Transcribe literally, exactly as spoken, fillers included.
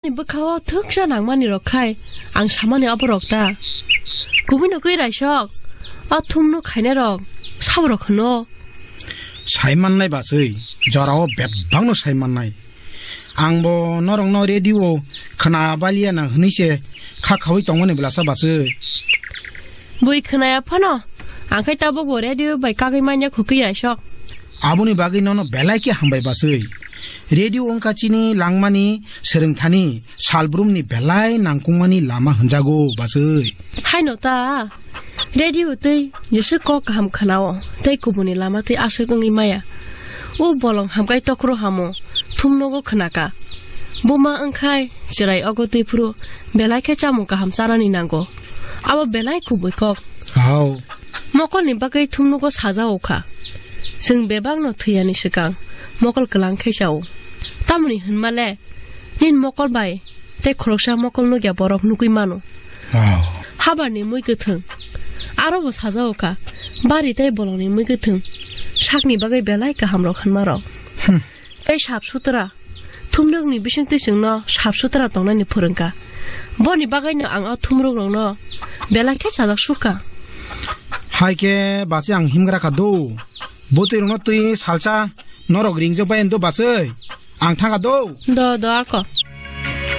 Bwkhao thwksa nangmani rok khai ang samani abo rok ta. Kubui no kwi raisok, o thumno khainai rok sabo rok hwno. Sai mannai bachwi, jorao bebakno sai mannai. Angbo norokno radio khna baliya na hwnwi se kha khaui tongmani belasa bachwi. Bui khnaya phano, ang khai tabukbo radio bai kagwi manya khukwi raisok. Aboni bagwi nono belai khe hambai bachwi. Radio wngkha chini langmani swrwngthani salbrumni belai nangkukmani lama hwnjago bachwi. Haino ta, radio twi jesa kok kaham khnao, tei kubuni lama twi aswk wngwi maya. O bolong hamkai tokhro hamo, thumnogo khnaka. Buma wngkhai chwrai ogo twiphuru belai khe chamung kaham chanani nango. Abo belai kubui kok. Hao. Mokolni bagwi thumnogo sajao kha. Chwng bebakno thwiyani swkang mokol kwlang khe chao. Tamoni hwnma le, nini mokol bai tei khoroksa mokol nukya borok nukwi mano. Hao. Habarni mui kwthwng. Aro bo sajao kha. Bari tei bolongni mui kwthwng. Sakni bagwi belai kaham rok hwnma rok. Hmm. Tei sap sutra. Thumrokni bisingtwi chwngno sap sutra tongnani phwrwngkha. Boni bagwino ang o thumrokrokno belai khe chajak sukha. Hai khe bachwi ang himgra kha do. Bwtwi rokno twi salsa norok ringjak bai do bachwi. Ang thangkha do. Do, do ako.